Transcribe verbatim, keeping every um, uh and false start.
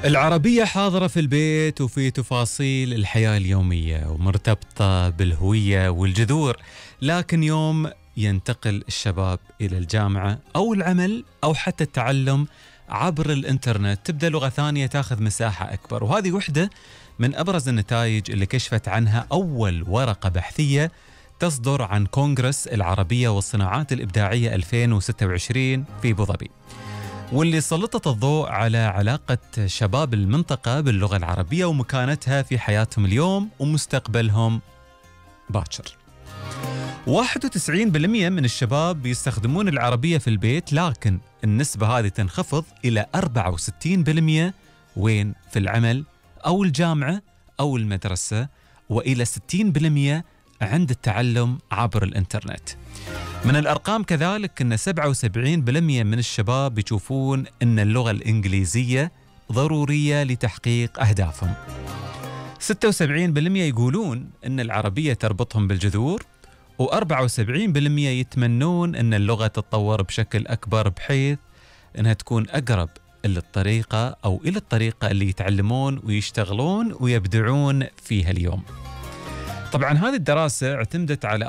العربية حاضرة في البيت وفي تفاصيل الحياة اليومية ومرتبطة بالهوية والجذور، لكن يوم ينتقل الشباب إلى الجامعة أو العمل أو حتى التعلم عبر الإنترنت تبدأ لغة ثانية تاخذ مساحة أكبر. وهذه وحدة من أبرز النتائج اللي كشفت عنها أول ورقة بحثية تصدر عن كونغرس العربية والصناعات الإبداعية ألفين وستة وعشرين في أبو ظبي، واللي سلطت الضوء على علاقة شباب المنطقة باللغة العربية ومكانتها في حياتهم اليوم ومستقبلهم باكر. واحد وتسعين بالمئة من الشباب يستخدمون العربية في البيت، لكن النسبة هذه تنخفض إلى أربعة وستين بالمئة وين؟ في العمل أو الجامعة أو المدرسة، وإلى ستين بالمئة عند التعلم عبر الإنترنت. من الأرقام كذلك أن سبعة وسبعين بالمئة من الشباب يشوفون أن اللغة الإنجليزية ضرورية لتحقيق أهدافهم. ستة وسبعين بالمئة يقولون أن العربية تربطهم بالجذور، وأربعة وسبعين بالمئة يتمنون أن اللغة تتطور بشكل أكبر بحيث أنها تكون أقرب للطريقة أو إلى الطريقة اللي يتعلمون ويشتغلون ويبدعون فيها اليوم. طبعا هذه الدراسة اعتمدت على